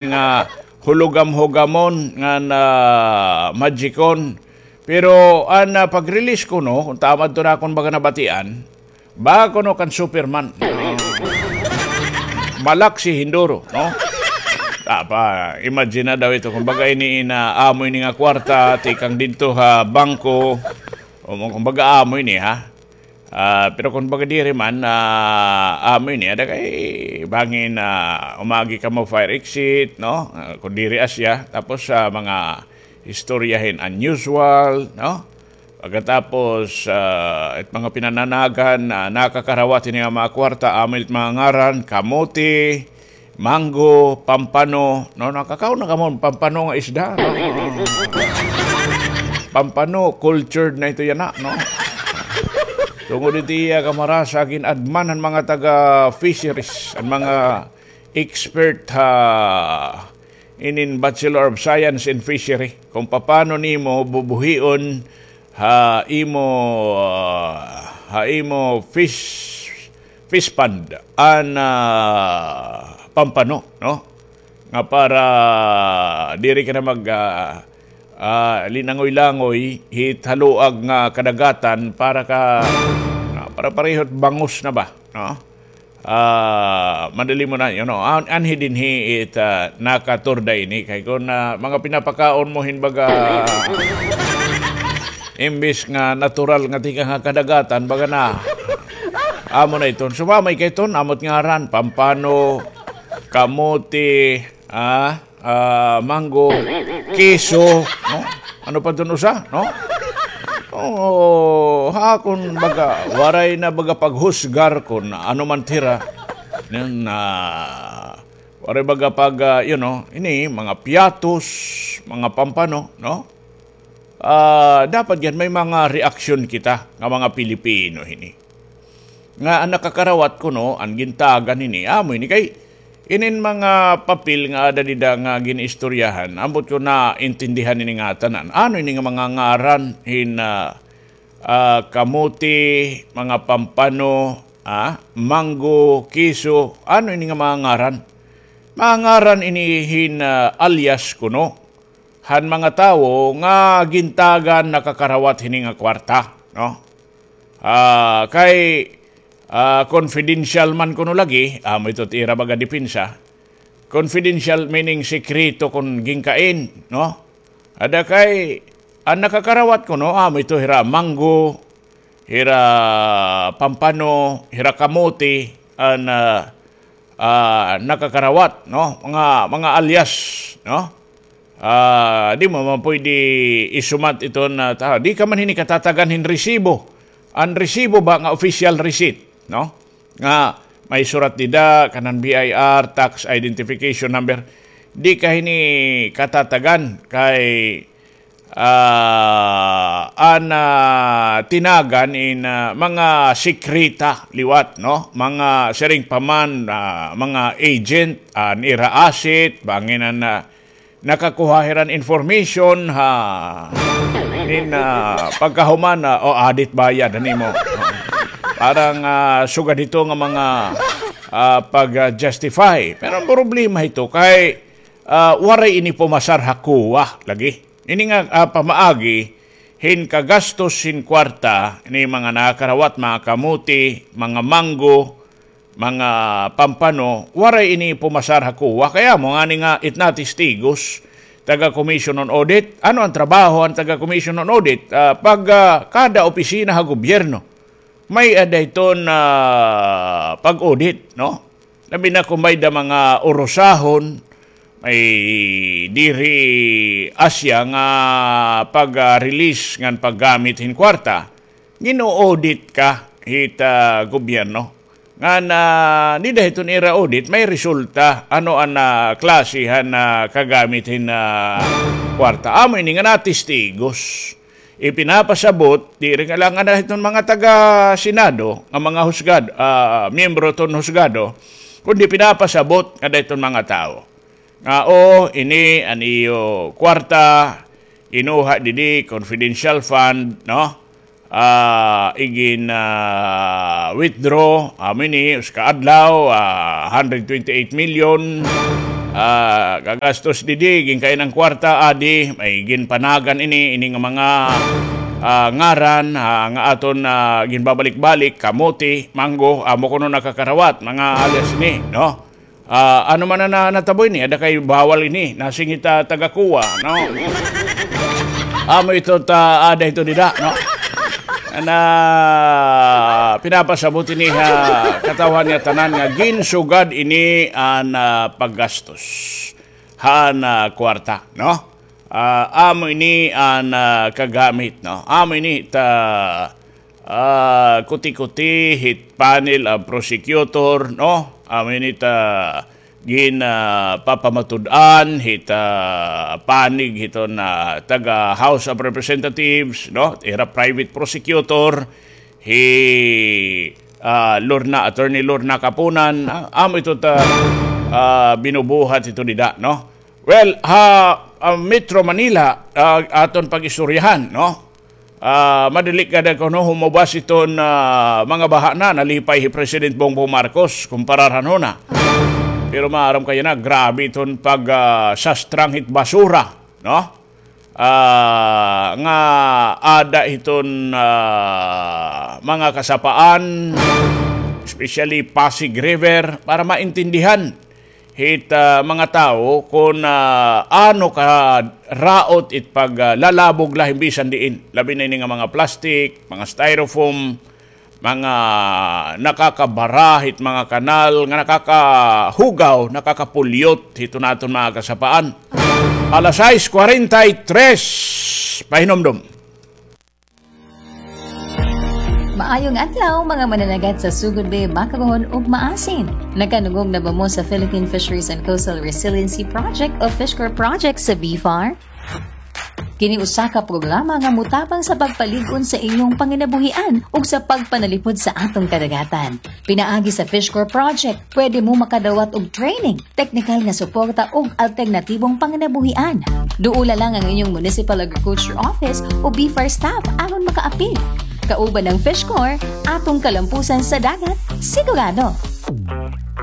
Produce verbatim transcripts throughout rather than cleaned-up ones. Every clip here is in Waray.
nga hulugam-hugamon ngan magicon. Pero an, ah, pag-release kuno, kon tama adto na akon baga nabatian, ba kuno kan Superman. Malaksi hin duro, no? Tapa, imagine na daw ito, kumbaga ini in, ah, amo ini nga kwarta, tikang didto ha bangko, o, kumbaga amo ini, ha? Ah, pero kon baga diri man, ah, amo ini, ada kay bangin, ah, umagi kamo fire exit, no? Ah, kon diri asya, tapos, ah, mga istorya hin unusual, no? Pagkatapos, ah, it mga pinananagan, ah, nakakarawat hini nga mga kwarta, amo it mga ngaran, kamote, mango, pampano, no? Nakakaon na kamo pampano nga isda, no? Pampano, cultured na ito yana, no? Tungod iti iya kamarasa, gin-adman han mga taga fisheries, an mga expert ha inin Bachelor of Science in Fishery, kung paano nimo bubuhion ha imo, ah, ha imo fish, fish pond an, ah, pampano, no? Nga para diri ka na mag, ah, ah, linangoy-langoy hit haluag nga kadagatan para ka, ah, para parehot bangus na ba, no? Ah, madali mo na, you know, an-, anhi dinhi it, ah, nakaturda ini. Kay kon, ah, mga pinapakaon mo hin baga, imbis nga natural nga tikang ha kadagatan, baga na, amo na iton. Sumamay kay ton, amo it ngaran, pampano, kamote, ah, ah, mango, keso, no? Ano pa dun usa, no? Oo, ha, kon baga, waray na baga paghusgar kon ano man it hira. Yan, ah, waray baga pag, ah, you know, ini, mga piatos, mga pampano, no? Ah, dapat yan, may mga reaksyon kita nga mga Pilipino hini. Nga an nakakarawat kuno, an gintagan hini, amo ini kay inin mga papel nga ada dida nga gin-istoryahan, ambot ko naintindihan ini ngatanan. Ano ini nga mga ngaran hin, ah, ah, kamote, mga pampano, ah, mango, keso, ano ini nga mga ngaran? Mga ngaran ini hin, ah, alias kuno han mga tawo nga gintagan nakakarawat hini nga kwarta, no? Ah, kay, ah, confidential man kuno lagi, amo ito it ira baga depensa. Confidential meaning sekreto kon ginkain, no? Ada kay, an nakakarawat kuno, amo ito hira mango, hira pampano, hira kamote, an, ah, ah, nakakarawat, no? Mga, mga alias, no? Ah, di mo man pwede isumat iton, ah, ta-, di ka man hini katatagan hin resibo. An resibo ba nga official receipt, no? Nga may surat dida, kanan B I R, tax identification number. Di ka hini katatagan kay ah, an, ah, tinagan in, ah, mga sekreta liwat, no? Mga siring pa man, ah, mga agent, an ira asset, bangin an, ah, nakakuha hira hin information, ha, nin, ah, pagkahuman, ah, o, audit bayad, han imo. Parang, ah, sugad hito nga mga, ah, pag, ah, justify. Pero an problema hito kay, ah, waray ini pumasar ha COA lagi. Ini nga, ah, pamaagi hin kagastos hin kwarta ni mga nakarawat, mga kamote, mga manggo, mga pampano, waray ini pumasar ha COA. Kay amo ngani nga it na testigos, taga Commission on Audit. Ano an trabaho han taga Commission on Audit? Ah, pag, ah, kada opisina ha gobyerno, may-ada iton, ah, pag-audit, no? Labi na kon may-ada mga urusahon, may diri asya nga pag-release ngan paggamit hin kwarta, gin-o-audit ka hit, ah, gobyerno. Ngan, ah, dida hiton ira audit, may resulta, ano an, ah, klase han, ah, kagamit hin, ah, kwarta. Amo ini nga natestigos. Ipinapasabot, diri nga la ngada hiton mga taga-Senado, nga mga husgad-, ah, miyembro ton husgado, kundi pinapasabot ngada hiton mga tawo nga, "O, ini an iyo kwarta, kinuha didi, confidential fund, no? Ah, igin, ah, withdraw, amo ini, usa ka adlaw, ah, hundred twenty-eight million." Ah, kagastos didi, ginkainan kwarta, adi, may ginpanagan ini, ini nga mga, ah, ngaran, ah, nga aton, ah, ginbabalik-balik, kamote, mango, amo kuno nakakarawat, mga alias ini, no? Ah, ano man na, na natabo ini, ada kay bawal ini, nasingit, ah, taga-kuwa, no? Amo ito ta, ada ito dida, no? Na pinapasabot ini ha katawhan nga tanan nga ginsugad ini an, ah, paggastos han, ah, kwarta, no? Ah, amo ini an, ah, kagamit, no? Amo ini ta, ah, kuti-kuti hit panel of prosecutor, no? Amo ini ta gin, ah, papamatud-an hit, ah, panig hiton, ah, taga House of Representatives, no? Ira private prosecutor, hi, ah, Lorna, Attorney Lorna Kapunan, ah, amo ito ta, ah, binubuhat ito dida, no? Well, ha, ah, Metro Manila, ah, aton pag-istoryahan, no? Ah, madali kada kuno humubas iton, ah, mga baha na nalipay hi President Bongbong Marcos kumpara han huna. Pero maaram kaya na, grabe iton pag, ah, sastrang hit basura, no? Ah, nga ada hiton, ah, mga kasapaan, especially Pasig River, para maintindihan hit, ah, mga tawo kon, ah, ano ka raot it pag, ah, lalabog la hin bisan diin. Labi na ini nga mga plastic, mga styrofoam, mga nakakabara hit mga kanal, nga nakakahugaw, nakakapulyot hiton aton mga kasapaan. Alas sais kwarenta y tres, pahinumdom. Maayong adlaw, mga mananagat sa Sugod Bay, Makabuhon ug Maasin. Nakanungog na ba mo sa Philippine Fisheries and Coastal Resiliency Project o FishCORE Project sa BFAR? Kini usa ka programa nga motabang sa pagpalig-on sa inyong panginabuhian ug sa pagpanalipod sa aton kadagatan. Pinaagi sa FishCORE Project, pwede mo makadawat og training, teknikal nga suporta ug alternatibong panginabuhian. Duola lang ang inyong Municipal Agriculture Office o BFAR staff aron makaapil. Kauban ang FishCORE, atong kalampusan sa dagat, sigurado.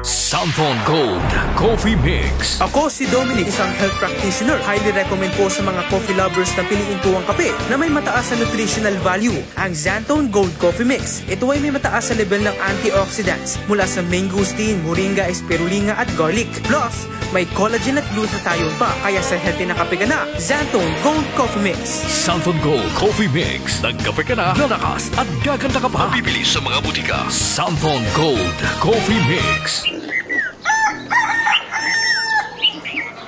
Santhon Gold Coffee Mix. Ako si Dominic, isang health practitioner. Highly recommend po sa mga coffee lovers na piliin po ang kape na may mataas na nutritional value. Ang Xanthone Gold Coffee Mix. Ito ay may mataas na level ng antioxidants mula sa mangosteen, moringa, spirulina at garlic. Plus, may collagen at glutathione pa, kaya sa healthy na kape ka na. Xanthone Gold Coffee Mix. Xanthone Gold Coffee Mix. Nagkape ka na, lalakas at gaganda ka pa. Mabibili sa mga butika. Xanthone Gold Coffee Mix.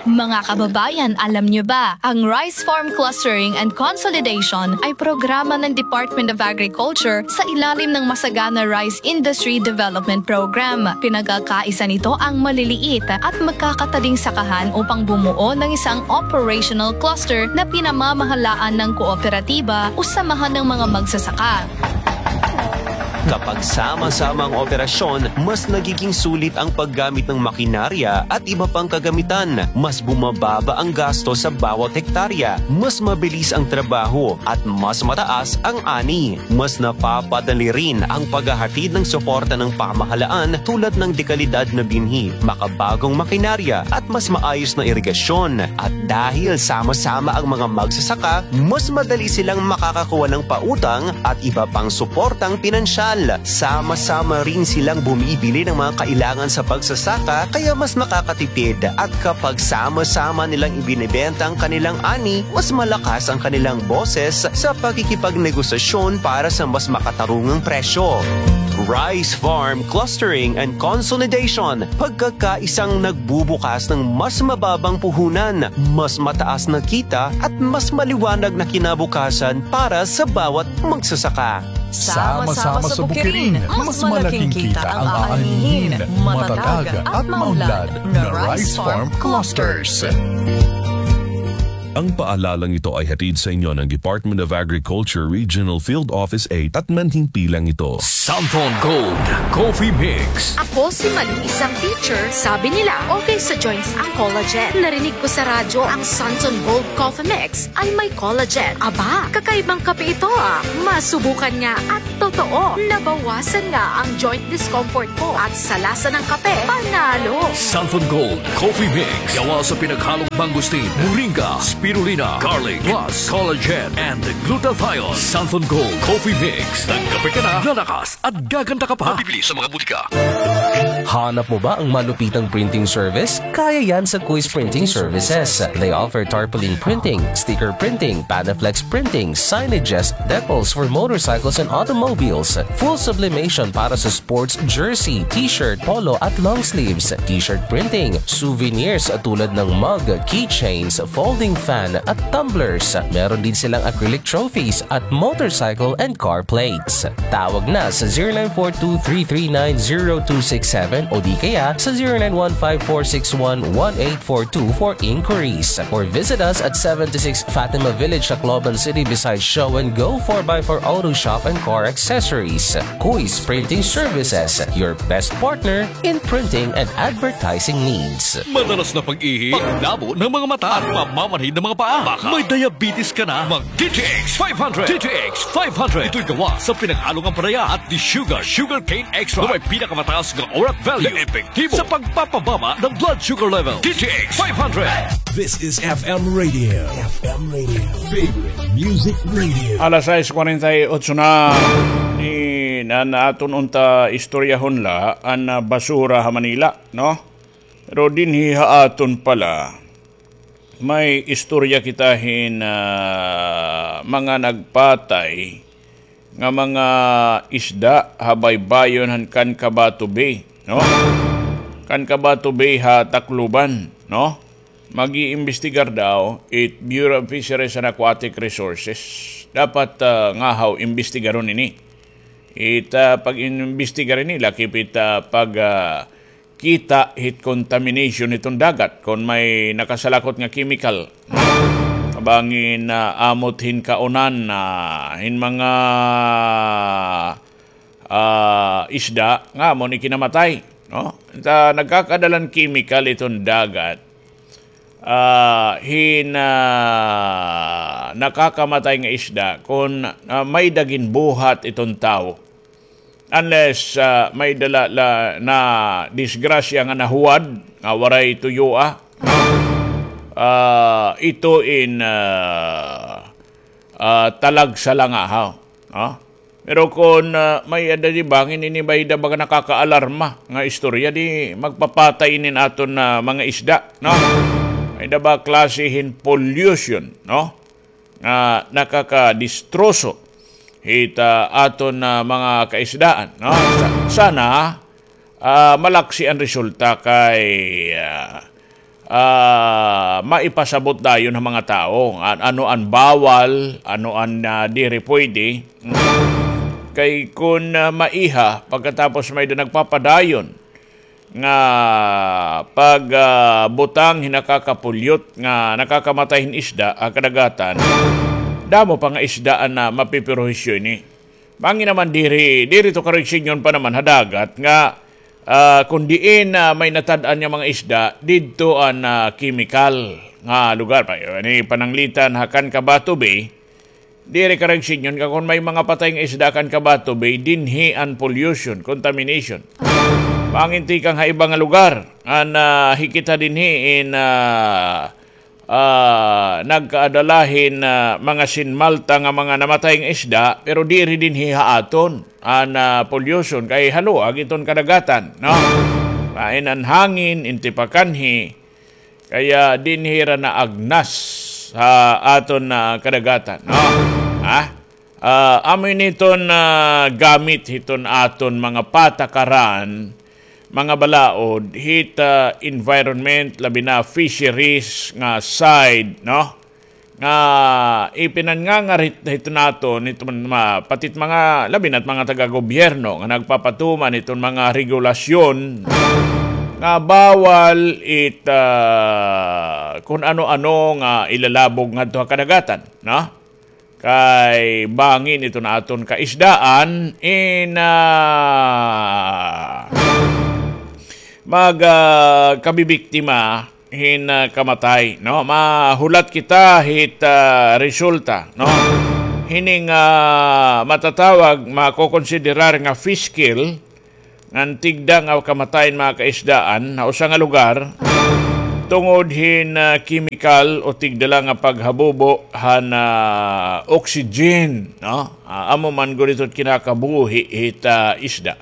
Mga kababayan, alam niyo ba, ang Rice Farm Clustering and Consolidation ay programa ng Department of Agriculture sa ilalim ng Masagana Rice Industry Development Program. Pinagkakaisa nito ang maliliit at magkakataling sakahan upang bumuo ng isang operational cluster na pinamamahalaan ng kooperatiba o samahan ng mga magsasaka. Kapag sama-sama ang operasyon, mas nagiging sulit ang paggamit ng makinarya at iba pang kagamitan. Mas bumababa ang gasto sa bawat hektarya, mas mabilis ang trabaho, at mas mataas ang ani. Mas napapadali rin ang paghahatid ng suporta ng pamahalaan tulad ng dekalidad na binhi, makabagong makinarya, at mas maayos na irigasyon. At dahil sama-sama ang mga magsasaka, mas madali silang makakakuha ng pautang at iba pang suportang pinansyal. Sama-sama rin silang bumibili ng mga kailangan sa pagsasaka, kaya mas makakatipid. At kapag sama-sama nilang ibinebenta ang kanilang ani, mas malakas ang kanilang boses sa pakikipagnegosasyon para sa mas makatarungang presyo. Rice Farm Clustering and Consolidation, pagkakaisang nagbubukas ng mas mababang puhunan, mas mataas na kita, at mas maliwanag na kinabukasan para sa bawat magsasaka. Sama-sama sa bukirin, mas malaking kita ang aanihin. Matatag at maunlad na Rice Farm Clusters. Ang paalalang ito ay hatid sa inyo ng Department of Agriculture Regional Field Office eight at manhimpilang ito. Santhon Gold Coffee Mix. Ako si Mali, isang teacher. Sabi nila, okay sa joints ang collagen. Narinig ko sa radyo ang Santhon Gold Coffee Mix ay may collagen. Aba, kakaibang kape ito ah. Masubukan nga at totoo, nabawasan nga ang joint discomfort ko at sa lasa ng kape, panalo. Santhon Gold Coffee Mix. Gawa sa pinaghalong mangosteen, moringa, spirulina, garlic, plus collagen and glutathione. Santhon Gold Coffee Mix. Nagkape ka na, lalakas at gaganda ka pa. Mabibili sa mga butika. Hanap mo ba ang malupitang printing service? Kaya yan sa Kuis Printing Services. They offer tarpaulin printing, sticker printing, Panaflex printing, signages, decals for motorcycles and automobiles, full sublimation para sa sports jersey, t-shirt, polo at long sleeves, t-shirt printing, souvenirs tulad ng mug, keychains, folding fan at tumblers. Meron din silang acrylic trophies at motorcycle and car plates. Tawag na sa zero nine four two three three nine zero two six seven o di kaya sa zero nine one five four six one one eight four two for inquiries. Or visit us at seventy-six Fatima Village, Tacloban City, beside Show and Go four by four Auto Shop and Car Accessories. Kuis Printing Services, your best partner in printing and advertising needs. Madalas na pag-ihi, paglabo ng mga mata, at mamamanhid ng mga paa. Baka may diabetes ka na. Mag D T X five hundred. D T X five hundred. Ito'y gawa sa pinaghalong ampalaya at desugar, sugarcane extract, na may pinakamataas nga orat value, na epektibo sa pagpapababa ng blood sugar level. D T X five hundred. This is F M Radio. F M Radio. Favorite Music Radio. Alas sais kwarenta y otso na. Ini na aton unta istoryahon la an, ah, basura ha Manila, no? Pero dinhi ha aton pala, may istorya kita hin, ah, mga nagpatay nga mga isda ha baybayon han Cancabato Bay, no? Cancabato Bay ha Tacloban, no? Mag-iimbestigar daw it Bureau of Fisheries and Aquatic Resources. Dapat, ah, ngahaw imbestigaron ini. It, ah, pag-imbestigar ini, lakip it, ah, pag, ah, kita hit contamination hiton dagat kon may nakasalakot nga chemical. Bangin, ah, amot hin kaunan, ah, hin mga, ah, isda nga amo ni kinamatay, no? Ta nagkakadalan chemical iton dagat, ah, hin, ah, nakakamatay nga isda kon, ah, may-ada ginbuhat iton tawo. Unless, ah, may-ada la, la, nadisgrasya nga nahuwad, nga waray tuyoa. Ah, ito in, ah, ah, talagsa la ngahaw, no? Pero kon, ah, may-ada di bangin ini may-ada baga nakakaalarma nga istorya, di magpapatay inin aton, ah, mga isda, no? May-ada ba klase hin pollution, no? Nga nakakadistroso hit, ah, aton, ah, mga kaisdaan, no? Sa-, sana, ah, malaksi an resulta kay, ah, ah, maipasabot dayon ha mga tawo an-, ano an bawal, ano an, ah, diri pwede. Kay kon, ah, maiha, pagkatapos may-ada nagpapadayon nga pag, ah, butang hin nakakapulyot nga nakakamatay hin isda ha kadagatan, damo pa nga isda an, ah, mapiperhisyo ini. Bangin naman diri, diri to karegsinyon pa naman ha dagat nga, ah, kon diin, ah, may natad-an nga mga isda, didto an, ah, chemical nga lugar. Pa, ini pananglitan ha Cancabato Bay, diri karegsinyon nga kon may mga patay nga isda ha Cancabato Bay, dinhi an pollution, contamination. Bangin tikang ha iba nga lugar, an, ah, hi kita dinhi in, ah, ah, nagkaada la hin, ah, mga sinmalta nga mga namatay nga isda, pero diri dinhi ha aton an, ah, pollution kay haluag iton kadagatan, no? Lain an hangin, in tipakanhi, kaya dinhi hira naagnas ha aton, ah, kadagatan, no? Ha? Ah, amo ini iton, ah, gamit hiton aton mga patakaran, mga balaod, hit, ah, environment, labi na fisheries nga side, no? Nga ipinanngangar hit-, hiton aton, hiton ma-, pati it mga, labi na it mga taga-gobyerno nga nagpapatuman hiton mga regulasyon nga bawal it, ah, kon ano-ano nga ilalabog ngadto ha kadagatan, no? Kay bangin iton aton kaisdaan in, ah, mag, ah, kabibiktima hin, ah, kamatay, no? Mahulat kita hit, ah, resulta, no? Hining, ah, matatawag, makokonsiderar nga fish kill, ngan tigda nga kamatay hin mga kaisdaan ha usa nga lugar tungod hin, ah, kemikal o tigda la nga paghabubo han, ah, oxygen, no? Ah, amo man gud ito it kinakabuhi hit, ah, isda.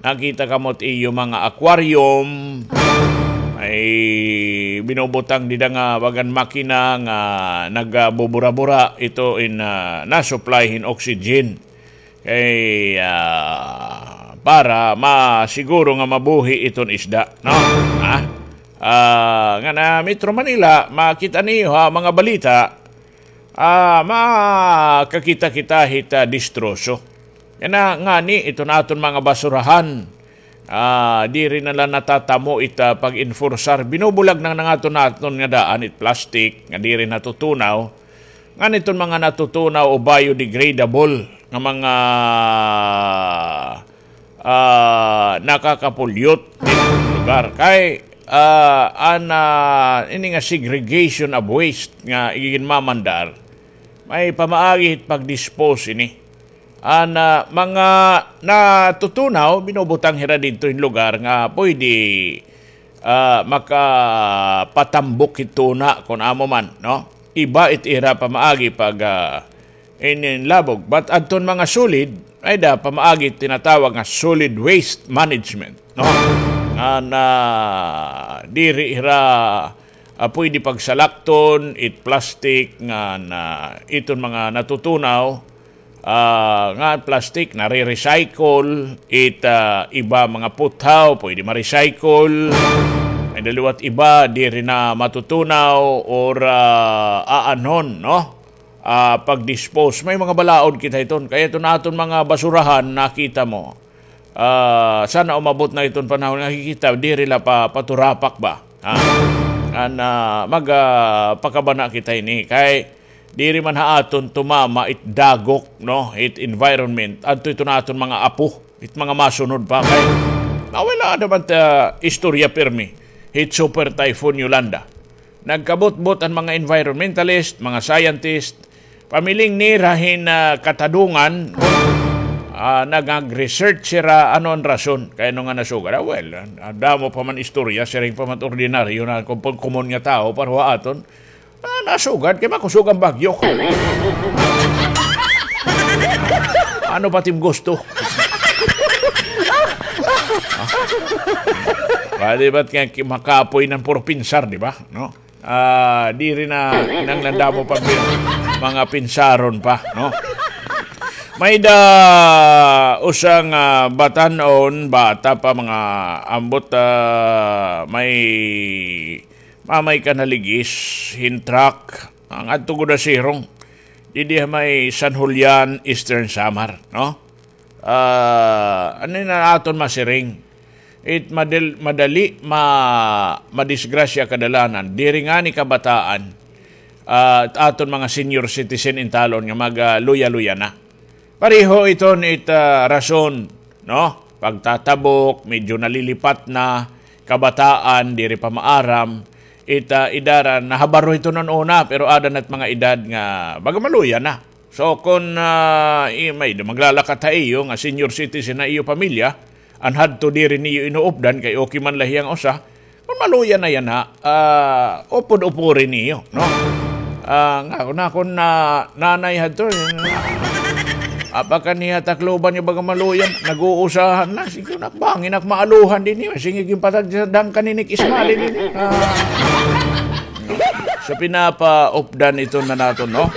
Nakita kamo it iyo mga aquarium, ay binubutang dida nga bagan makina nga nagabubura-bura ito in, ah, na-supply hin oxygen. Kay, ah, para masiguro nga mabuhi iton isda, no? Ha? Ah, ngan ha Metro Manila, makita niyo ha mga balita, ah, makakita kita hit, ah, distroso. Yana, ngani, iton aton mga basurahan, ah, diri na la natatamo it, ah, pag-enforcear. Binubulag na nga aton, aton nga daan, it plastic, nga diri natutunaw. Ngan iton mga natutunaw o biodegradable nga mga, ah, nakakapulyot dito lugar. Kay, ah, an, ah, ini nga segregation of waste nga iginmamandar, may pamaagi hit pag-dispose ini. An, ah, mga natutunaw, binubutang hira didto hin lugar nga pwede, ah, makapatambok hit tuna kon amo man, no? Iba it ira pamaagi pag, ah, in, in labog. But adton mga solid, may-ada pamaagi tinatawag nga solid waste management, no? Nga na diri hira, ah, pwede pagsalakton it plastic nga na iton mga natutunaw, ah, nga plastic nare-recycle, it, ah, iba mga puthaw pwede ma-recycle. May-ada liwat iba diri na matutunaw or, ah, aanhon, no? Ah, pag-dispose. May mga balaod kita hiton. Kay iton aton mga basurahan, nakita mo. Ah, sana umabot na iton panahon nga kikita, diri la pa, paturapak ba? Ha? An, ah, mag, ah, pakabana kita ini. Kay diri man ha aton tumama it dagok, no? It environment. Adto iton aton mga apo, it mga masunod pa kay. Nawala naman ta istorya pirmi. It Super Typhoon Yolanda. Nagkabutbot an mga environmentalist, mga scientist, pamiling nira hin, ah, katadungan, ah, nag-research sira ano an rason kay ano nga nasugad. Ah, well, ah, damo pa man istorya, siring pa man ordinaryo na kom-, komon nga tawo, pero ha aton, ah, nasugad kay makusog an bagyo. Ano pa tim gusto? Pwede ba't nga ki-, makapoy nan puro pinsar, di ba? No? Ah, diri na kinahanglan damo pa bi-, mga pinsaron pa, no? May-ada usa nga batan-on, bata pa, mga ambot, ah, may mamay ka naligis hin truck. Ngadto gud ha Sirong. Didi ha may San Julian, Eastern Samar, no? Ah, ano na aton masiring? It madal-, madali ma-, madisgrasya kadalanan. Diri ngani kabataan, ah, aton mga senior citizen in talon nga mag, ah, luya-luya na. Pareho iton it, ah, rason, no? Pagtatabok, medyo nalilipat na, kabataan, diri pa maaram, it, ah, edad, ah, nahabaro iton una, pero ada na it mga edad nga baga maluya na. So, kon, ah, i-, may maglalakaw ha iyo nga senior citizen na iyo pamilya, an hadto diri niyo inuupdan kay okay man la hiya nga usa, kon maluya na yana, ah, upod-upori niyo, no? Ah, nga, kon akon, ah, nanay hadto, eh, apa ka niya Tacloban nga baga maluya, nag-uusahan na, sige, nak, bangin ak maaluhan dinhi, sige, ginpatagdang ka ni Nick Ismali dinhi. Ah. So, pinapaupdan ito na naton, no?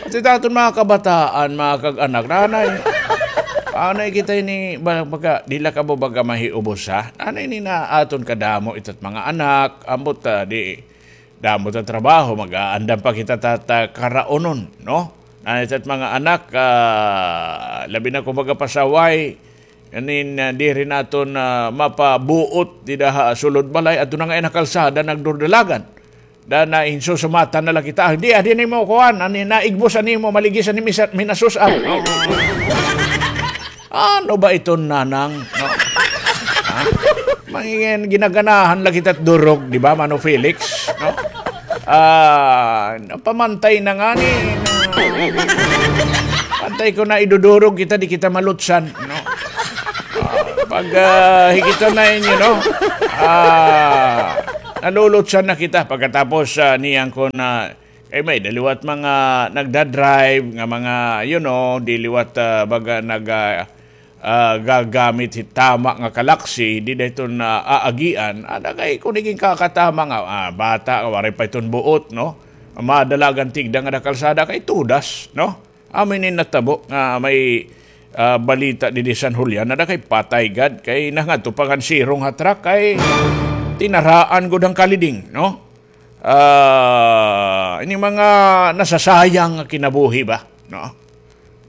Pati aton mga kabataan, mga kag-anak, nanay. Anay kita ini, ba-, baga, di la kamo baga mahiubos, ha? Anay ini na aton kadamo ito't mga anak, ambot, ah, di, damo ta trabaho, mag-aandam pa kita ta, ta karaunon, no? Anay ito't mga anak, ah, labi na kon baga pasaway, anin, ah, diri naton, ah, mapabuot dida ha sulod balay, adto na nga ina kalsada, nagdurdalagan. Da na insusumatan na la kita. Hindi, adi nimo kuan, ani, naigbos an imo, maligis an imo sa-, minasus-an. Ano ba iton, Nanang? No? Ha? Mangingin, ginaganahan la kita durog, di ba, Mano Felix? No? Ah, pamantay na ngani. Pantay ko na idudurog kita, di kita malutsan, no? Ah, pag, ah, hikita na inyo, no? Ah, nalulutsan na kita. Pagkatapos, ah, niyan ko na, eh, may da liwat mga nagda-drive nga mga, you know, di liwat, ah, baga nag, ah, ah, gagamit hit tama nga kalaksi, di da iton aagian, ada kay kun igin kakatama nga, ah, bata, waray pa iton buot, no? Madalagan tigda nga da kalsada kay tudas, no? Amo ini natabo nga may, ah, balita didi San Julian, ada kay patay gad, kay nangadto pa ngan sirong ha truck, kay tinaraan gud an kaliding, no? Ah, ini mga nasasayang nga kinabuhi ba, no?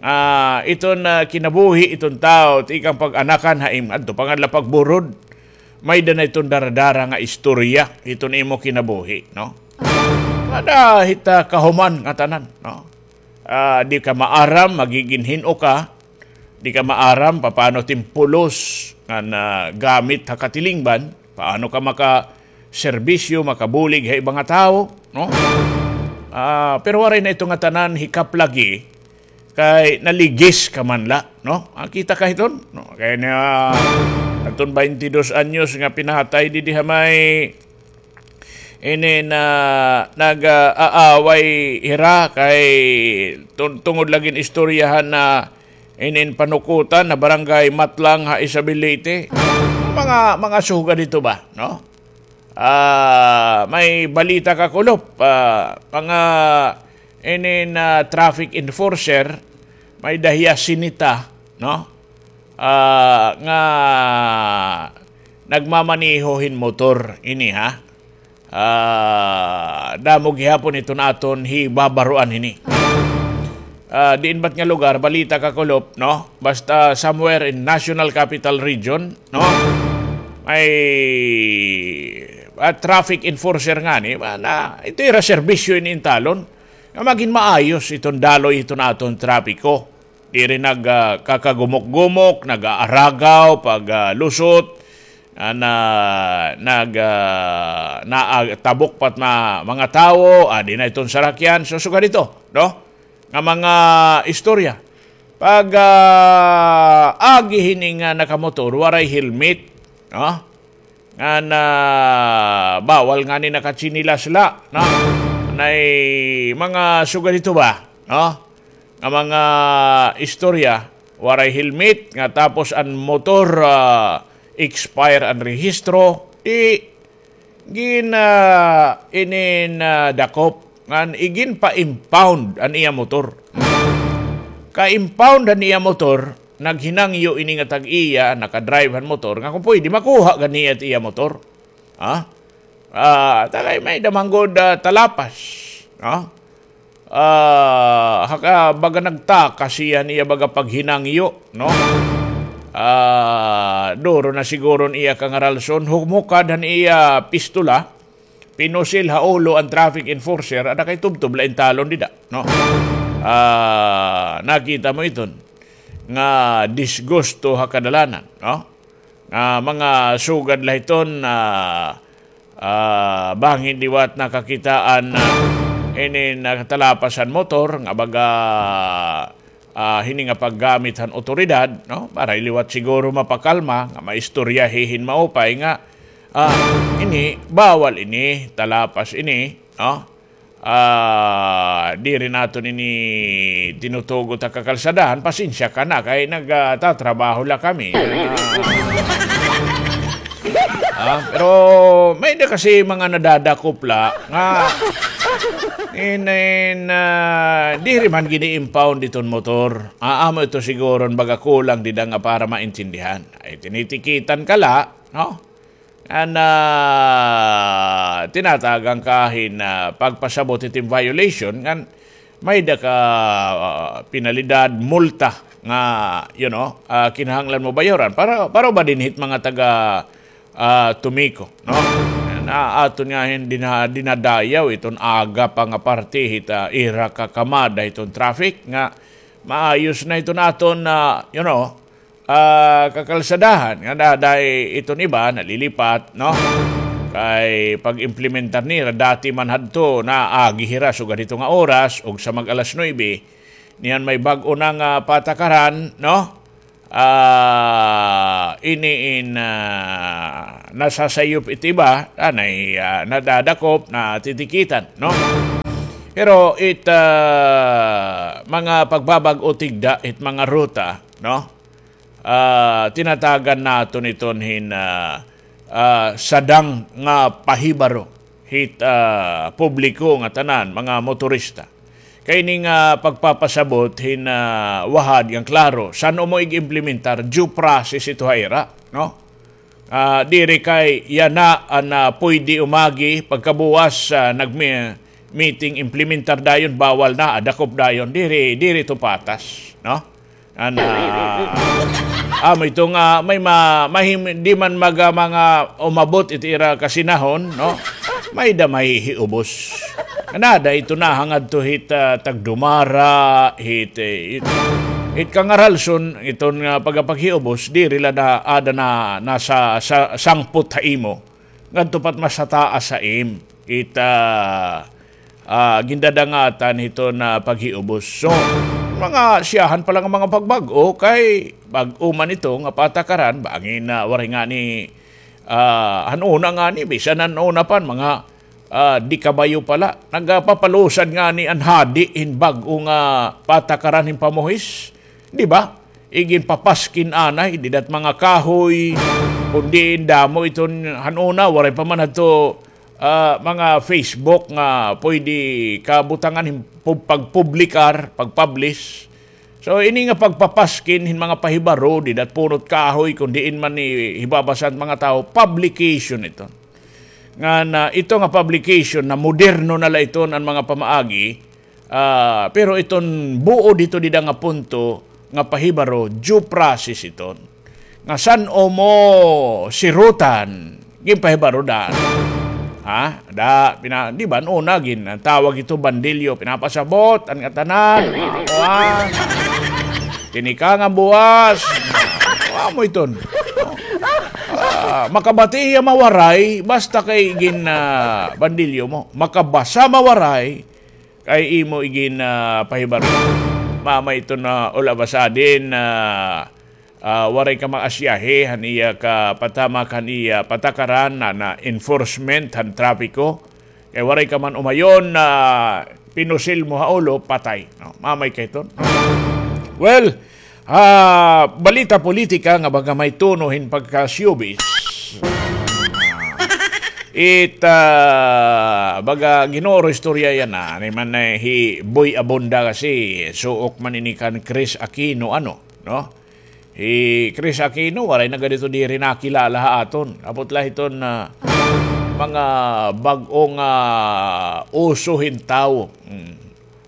Ah, iton, ah, kinabuhi iton tawo, tikang pag-anakan ha im-, adto pa nga la pagburod. May da na iton daradara nga istorya, iton imo kinabuhi, no? Ada hita kahuman nga tanan, no? Ah, di ka maaram, magigin hin-o ka, di ka maaram, papaano timpulos nga nagamit ha katilingban, paano ka makaserbisyo, makabulig ha iba nga tawo, no? Ah, pero waray na ito nga tanan hikap lagi, kay naligis ka man la, no? Ah, kita ka hiton, no? Kay na, aton baynte dos anyos nga pinatay didi ha may ini na nag-aaway hira kay tun-, tungod lagi hin istoryahan na inin panukutan na barangay Matlang ha Isabel, Leyte. Mga, mga sugad ito ba, no? Ah, may balita ka, Kulop, ah, mga inin, ah, traffic enforcer, may da hiya sinita, no? Ah, nga nagmamaneho hin motor ini, ha? Ah, damo gihapon iton aton hibabaroan hini. Ah, diin ba it nga lugar, balita ka, Kulop, no? Basta somewhere in National Capital Region, no? May, ah, traffic enforcer ngani, ma-, na, ito ira serbisyo ini intalon. Nga magin maayos iton daloy iton aton trapiko. Diri nag, ah, kakagumok-gumok, nag-aaragaw, pag, ah, lusot, ah, na, nag, ah, na, ah, tabok pa it ma-, mga tawo, adi na iton sarakyan. So, sugad ito, no? Nga mga istorya. Pag, ah, agi hini nga nakamotor, waray helmet, no? Ngan, ah, bawal ngani nakatsinilas la, no? Nay mga sugad ito ba, no? Nga mga istorya, waray helmet, nga tapos an motor, ah, expire an rehistro, di gin, ah, inin, ah, dakop, ngan igin pa-impound an iya motor. Ka-impound an iya motor, naghinangyo ini nga tag-iya, nakadrive han motor, nga kung pwede, makuha gad niya it iya motor. Ha? Ah, ta kay may da man gud, ah, talapas. Ha? Ah, haka baga nagtakas hiya han iya baga paghinangyo, no? Ah, duro na siguro an iya kangaralson, humukad han iya pistola, pinusil ha ulo an traffic enforcer, ada kay tubtob la intalon dida, no? Ah, nakita mo iton nga disgusto ha kadalanan, no? Nga mga sugad la hiton, ah, ah, bangin liwat nakakitaan, ah, ini nakatalapas han motor nga baga, ah, hini nga paggamit han awtoridad, no? Para liwat siguro mapakalma nga maistorya hihin maupay nga, ah, ini, bawal ini, talapas ini, no? Ah, diri naton ini tinutugot ha kakalsadahan, pasensya ka na, kay nag, ah, tatrabaho la kami. Ah, ah, pero may da kasi mga nadadakop la nga, in, in, ah, diri man gini-impound iton motor. Ah, amo ito siguro an baga kulang dida nga para maintindihan. Ay, tinitikitan ka la, no? An, ah, tinatagan ka hin, ah, pagpasabot hitin violation, ngan may da ka, ah, penalidad, multa nga, you know, ah, kinahanglan mo bayaran. Para, para ba dinhi hit mga taga, ah, Tomeco, no? na aton nga hin dina-, dinadayaw iton aga pa nga parte hit, ah, ira kakamada hiton traffic nga maayos na iton aton, ah, you know, ah, kakalsadahan nga daday iton iba nalilipat, no? Kay pag-implementar nira, dati man hadto naagi hira sugad hito nga oras ug sa mag-alas nuebe, niyan may bag-o na nga patakaran, no? Ah, ini in, ah, nasasayop it iba, anay, ah, nadadakop, natitikitan, no? Pero it, ah, mga pagbabag-o tigda, it mga ruta, no? Ah, tinatagan naton iton hin, ah, ah, sadang nga pahibaro hit, ah, publiko nga tanan, mga motorista. Kay ini nga pagpapasabot hin, ah, wahad ngan klaro, san-o mo ig-implementar, due process ito ha ira, no? Ah, diri kay yana an, ah, pwede umagi, pagkabuwas, ah, nagmi-, meeting, implementar dayon, bawal na, ah, dakop dayon, diri, diri ito patas, no? Ana, amo ito nga may ma-, mahim-, di man maga mga umabot it ira kasinahon, no? May-ada mahihiubos. Nada ito na hangadto hit, ah, tagdumara, hit, eh, hit, hit kangaralson, iton nga pagapaghiubos, diri la na, ada na, nasa, sa, sangpot ha imo. Ngadto pa it mas hataas ha im. It, ah, ah, gindadangatan hiton paghiubos. So, mga siyahan pa la nga mga pagbag-o, kay bag-o man ito nga patakaran, bangin na waray ngani, ah, han una ngani, bisan han una pa, mga, ah, di kabayo pa la. Nagapapalusad ngani an hadi hin bag-o nga patakaran hin pamuhis. Di ba? Iginpapaskin anay, dida it mga kahoy, kon diin damo iton han una, waray pa man hadto, ah, mga Facebook nga pwede kabutangan hin pub-, pagpublikar, pagpublish. So, ini nga pagpapaskin hin mga pahibaro, dida it punot kahoy, kon diin man ni hibabasa han mga tawo, publication ito. Ngan, ah, ito nga publication na moderno na la iton an mga pamaagi, ah, pero iton buod hito dida nga punto nga pahibaro, due process iton. Nga san-o mo sirutan, ginpahibaro daan. Ha? Da, pina-, di ba, an una, gin-, an tawag ito, bandilyo, pinapasabot, an ngatanan, mga kuan. Tinikang an buwas. Amo iton. Ah, makabati hiya mawaray, basta kay gin, ah, bandilyo mo. Makabasa mawaray, kay imo igin, ah, pahibaro. Mama iton, ah, all of a sudden, ah, ah, waray ka maasyahe han iya kapatamak han iya patakaran na, na enforcement han trapiko. Kay waray ka man umayon na pinusil mo ha ulo, patay. No? Mamay kay ton. Well, ah, balita politika nga baga may tono hin pagka-showbiz. It, ah, baga ginuro istorya yana, ni man, eh, hi Boy Abunda kasi, suok man ini kan Chris Aquino, ano, no? Hi Chris Aquino, waray na gad ito diri nakilala ha aton. Abot la hiton, ah, mga bag-o nga, ah, uso hin tawo. Hmm.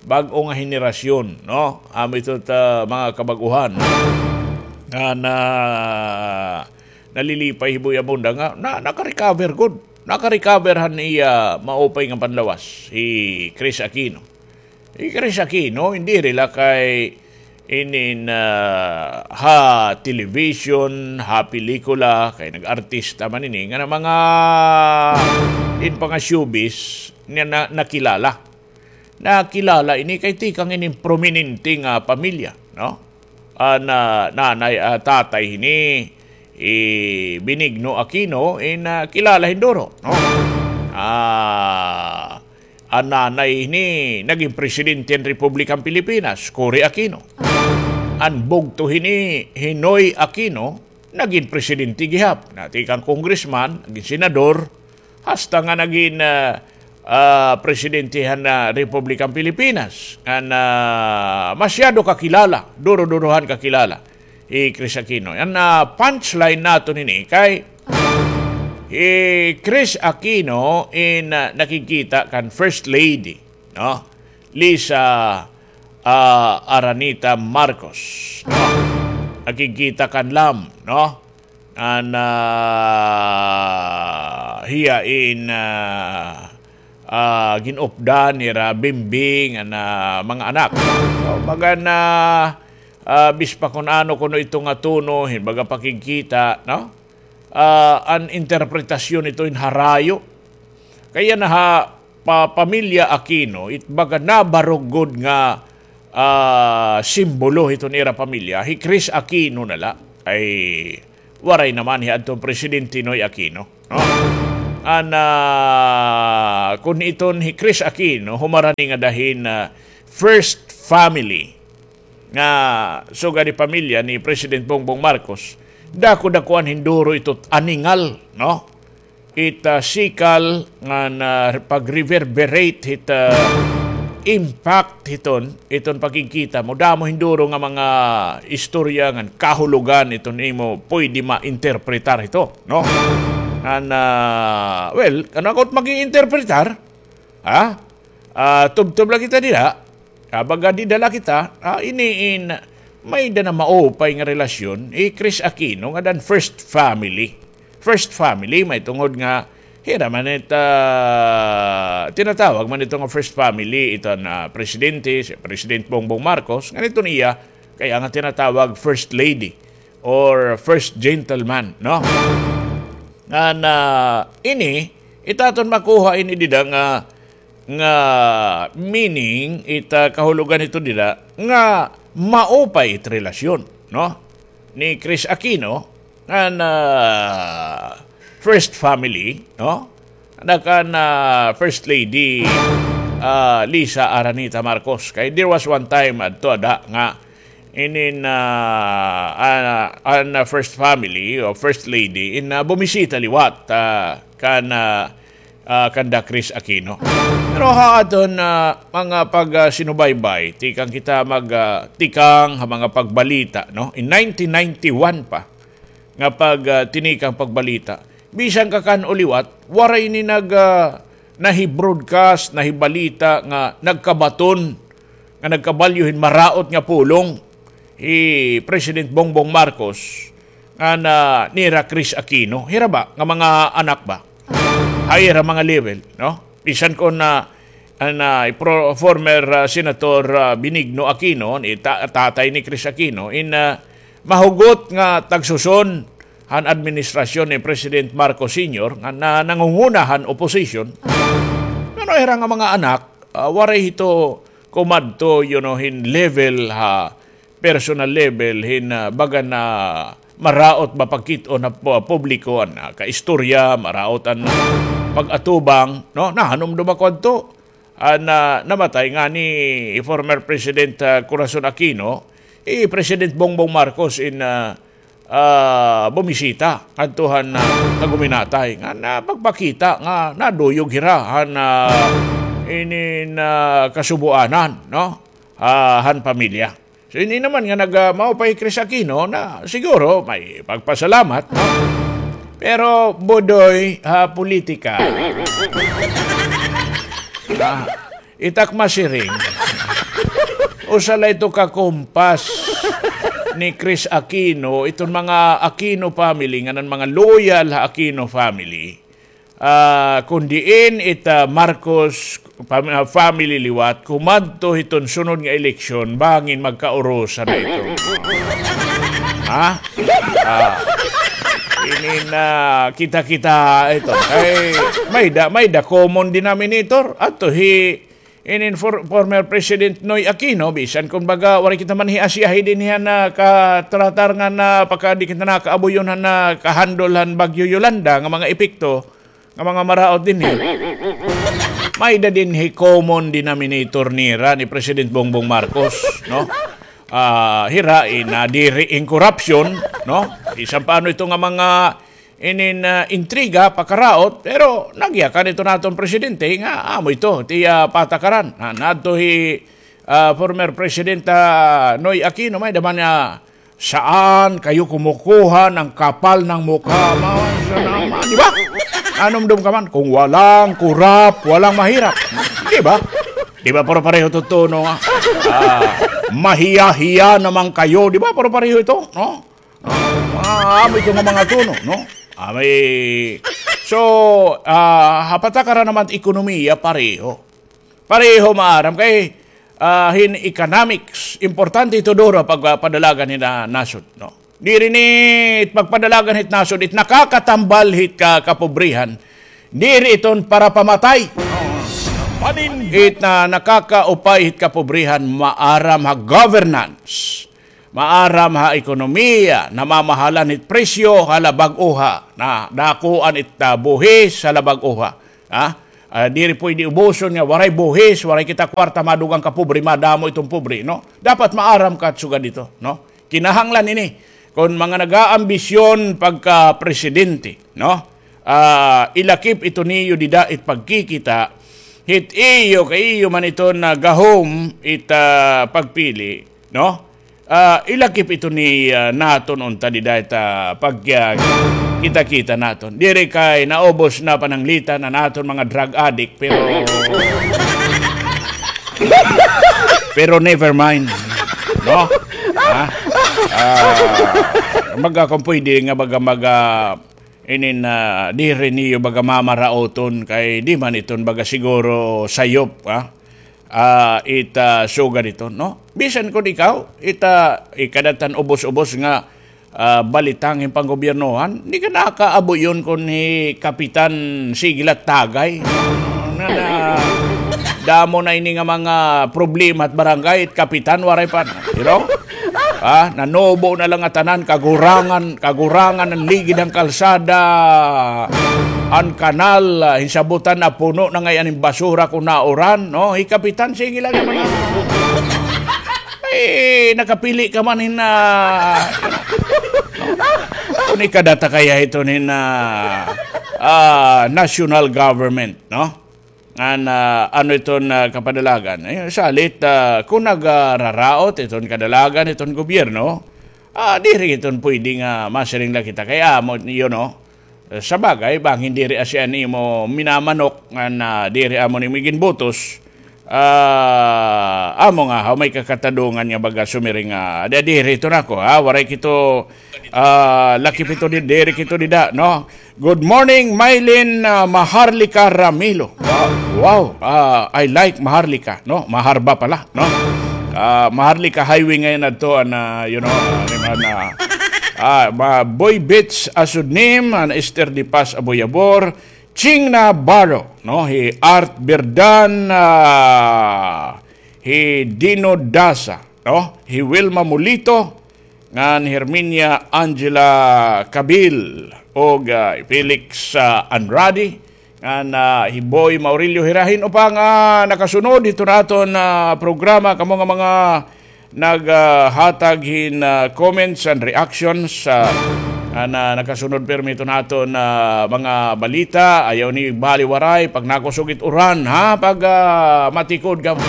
Bag-o nga henerasyon, no? Amo ito ta, mga kabag-uhan. Nga na, nalilipay hi Boy Abunda nga, na, naka-recover gud. Naka-recover han iya maupay nga panlawas, hi Chris Aquino. Hi Chris Aquino, hindi rila kay inin, ah, ha television, ha pelikula, kay nag-artista man ini, nga na mga in panga showbiz niya na, nakilala. Nakilala ini kay tikang ini prominente nga pamilya, no? An, ah, nanay, ah, tatay hini, hi Benigno Aquino, in, ah, kilala hin duro, no? Ah, an nanay hini, nagin presidente han Republikang Pilipinas, Cory Aquino. An bugto hini, hi Noy Aquino, nagin presidente gihap. Na, tikang congressman, nagin senador, hasta nga nagin, ah, ah, presidente han, ah, Republikang Pilipinas. An, ah, masyado kakilala, duro-durohan kakilala hi Chris Aquino. An, ah, punchline naton ini kay hi Chris Aquino in, ah, nakigkita kan First Lady, no? Liza, ah, Araneta Marcos, no? Nakigkita kan Lam, no? an, ah, hiya in, ah, ah, gin-updan nira Bimbing an, ah, mga anak. So, baga na, ah, bis pa kun ano kuno ito nga tono, hin baga pakigkita, no? Ah, an interpretasyon ito in harayo. Kay yana ha pa-, pamilya Aquino, it baga nabarog gud nga, ah, simbolo hiton ira pamilya, hi Chris Aquino na la. Ay, waray naman hi adton Presidente Noy Aquino, no? An, ah, kun iton hi Chris Aquino, humarani ngada hin, ah, first family nga sugad hi pamilya ni President Bongbong Marcos, dako-dakuan hin duro ito aningal, no? It, ah, sikal ngan, ah, pag-reverberate hit, ah, impact hiton, iton pakigkita mo. Damo hin duro nga mga istorya ngan kahulogan iton imo pwede ma-interpretar hito, no? Ngan, ah, well, ano ako mag-i-interpretar? Ha? Ah, tubtob la kita dida. Ah, baga dida la kita. Ah, ini in, may-ada na maupay nga relasyon, hi Chris Aquino, ngada han first family. First family, mahitungod nga, hira man it, ah, tinatawag man ito nga first family, iton, ah, presidente, si President Bongbong Marcos, ngan iton iya, kay an tinatawag first lady or first gentleman, no? Ngan, ah, ini, it aton makuha ini dida nga, nga meaning, it, ah, kahulogan hito dida, nga maupay it relasyon, no? Ni Chris Aquino, ngan, ah, first family, no? Ngan kan, ah, First Lady, ah, Liza Araneta Marcos. Kay there was one time adto ada nga inin, ah, ah, an, ah, first family o first lady in, ah, bumisita liwat, ah, kan, ah, ah, kanda Chris Aquino. Pero ha aton, ah, mga pag, ah, sinubaybay, tikang kita mag, ah, tikang ha mga pagbalita, no? In nineteen ninety-one pa, nga pag, ah, tinikang pagbalita. Bisan ka kan-o liwat, waray ini nag, ah, nahi-broadcast, nahibalita nga nagkabaton, nga nagkabalyo hin maraot nga pulong hi President Bongbong Marcos, ngan nira Chris Aquino. Hira ba, nga mga anak ba? Ha ira mga level, no? Bisan kon, ah, an, ah, pro-, former, ah, Senator, ah, Benigno Aquino, ni ta-, tatay ni Chris Aquino, in, ah, mahugot nga tagsuson han administrasyon ni President Marcos Senior nga na-, nangunguna han opposition. Pero hira nga mga anak, ah, waray hito kumadto, you know, hin level ha personal level hin, ah, baga na maraot ba pagkit-on ha pu-, publiko an, ah, kaistorya, maraot an pag-atubang, no? Nahanumdom ako adto. An, ah, namatay ngani former President, ah, Corazon Aquino, hi President Bongbong Marcos in, ah, ah, bumisita ngadto han, ah, kaguminatay nga na pagpakita nga naduyog hira han, ah, inin, ah, kasubuanan, no? Ah, han pamilya. So, ini naman nga nag, ah, maupay Chris Aquino na siguro may pagpasalamat, no? Pero, Budoy, ha politika, ah, it ak masiring, usa la ito ka kumpas ni Chris Aquino, iton mga Aquino family, ngan an mga loyal ha Aquino family. Ah, kon diin it, ah, Marcos pam-, ah, family liwat, kumadto hiton sunod nga eleksyon, bangin magkaurusan na ito. Ha? Ah, ini na kita-kita ito. Ay, may-ada, may-ada common denominator. Ato hi, inin for-, former President Noy Aquino, bisan kon baga, waray kita man hi asiyahi dinhi han, ah, katratar nga na, pagka di kita nakaabuyon han, ah, kahandol han Bagyo Yolanda nga mga epekto, nga mga maraot dinhi. May-ada dinhi common denominator nira ni President Bongbong Marcos, no? Ah, hira, nadiri in corruption, no? Bisan pa ano ito nga mga inin, ah, intriga, pakaraot, pero nagyakan ito naton presidente nga amo ito, it iya patakaran. Na, nadto hi, ah, former President, ah, Noy Aquino, may-ada man niya Saan kayo kumukuha ng kapal ng mukha? Mga sa naman, di ba? Nanumdom ka man, kung walang kurap, walang mahirap. Di ba? Di ba, puro pareho ito tono nga? Ah, mahiya-hiya naman kayo. Di ba, puro pareho ito, no? Ah, Ah, amo ito nga mga tono, no? Amay, so, ah, ha patakaran naman ekonomiya, pareho. Pareho maaram kay, ah, hin economics, importante ito duro pagpadalagan hin, ah, nasod, no? Diri ni pagpadalagan hit nasod, it nakakatambal hit ka-, kapobrihan. Diri iton para pamatay. It na nakakaupay hit kapobrihan, maaram ha governance. Maaram ha ekonomiya, namamahalan hit presyo ha labag uha, na dakuan it, ah, buhis ha labag uha. Ha? Ah, diri pwede ubuson nga waray buhis, waray kita kwarta, madugang kapobre, madamo iton pobre, no? Dapat maaram ka sugad ito, no? Kinahanglan ini. Kon mga nagaambisyon pagka presidente, no? Ah, ilakip ito niyo dida it pagkikita, hit iyo kay iyo man ito nga gahom it, ah, pagpili, no? Ah, ilakip ito ni, ah, naton unta dida it, ah, pag, ah, kita-kita naton. Diri kay naubos na pananglitan an aton mga drug addict, pero, pero never mind. No? Ha? Ah, baga kon pwede nga baga, baga, inin, ah, diri niyo baga mamaraoton kay di man iton baga siguro sayop, ha? Ah, it, ah, sugad iton, no? Bisan kon ikaw, it, ah, ikadatan ubos-ubos nga, ah, balita hin panggobyernohan, di ka nakaabuyon kon hi Kapitan Sige la Tagay. Nga na, damo na ini nga mga problema hit barangay, it kapitan, waray pa, you know? Ah, nanubo na la nga tanan, kagurangan, kagurangan an ligid han kalsada, an kanal, ah, hin sabutan napuno na ngay-an hin basura kon nauran, no? Hi Kapitan Sige la nga mga, ay, nakapili ka man hin, ah, kon ikadata kaya iton hin, ah, ah, national government, no? Ngan, ah, ano iton, ah, kapadalagan? Ay, salit, ah, kon nagararaot iton kadalagan iton gobyerno, ah, diri iton pwede nga masiring la kita kay amo, you know. Sa bagay, bangin diri asian imo minamanok ngan, ah, diri amo nimo iginbutos, ah, amo nga, ha, may kakatadongan nga baga sumiring nga, da, diri iton ako, ha, waray kito, ah, lakip ito di, diri kito dida, no? Good morning, Mylene, ah, Maharlika Ramilo. Ah, wow, ah, I like Maharlika, no? Maharba pala, no? Ah, Maharlika Highway ngay-an adto, an, ah, you know, ah, ano man, ah, ah, ma-, Boy Beach Asudnim, an Esther de Paz Aboyabor, Ching Navarro, no? Hi Art Berdan, ah, hi Dino Dasa, no? Hi Wilma Mulito, ngan Herminia Angela Cabil, ug, ah, Felix, ah, Andrade, ngan, ah, hi Boy Maurilio Hirahin, upang, ah, nakasunod hiton aton, ah, programa, kamo nga mga nag, ah, hatag hin, ah, comments and reactions, ah, ngan, ah, nakasunod pirmi hiton aton, ah, mga balita, ayaw ni baliwaray, pag nakusog it uran, ha, pag, ah, matikod kamo.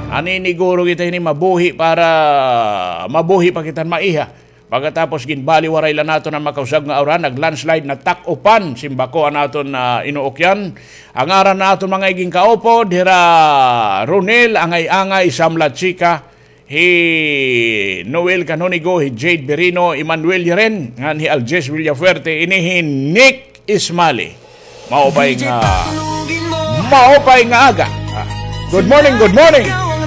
Naniniguro kita hini mabuhi para mabuhi pa kita hin maiha. Pagkatapos ginbaliwaray la naton an makausab nga uran, nag-landslide, natak-upan, simbako an aton, ah, inuukyan. An ngaran han aton mga igin kaupod, hira Ronel, Angay-angay, Sam La Chica, hi Noel Canonigo, hi Jade Berino, Emmanuel Yeren, ngan hi Aljes Villafuerte, ini hi Nick Ismali. Maupay nga, maupay nga aga. Ah, good morning, good morning.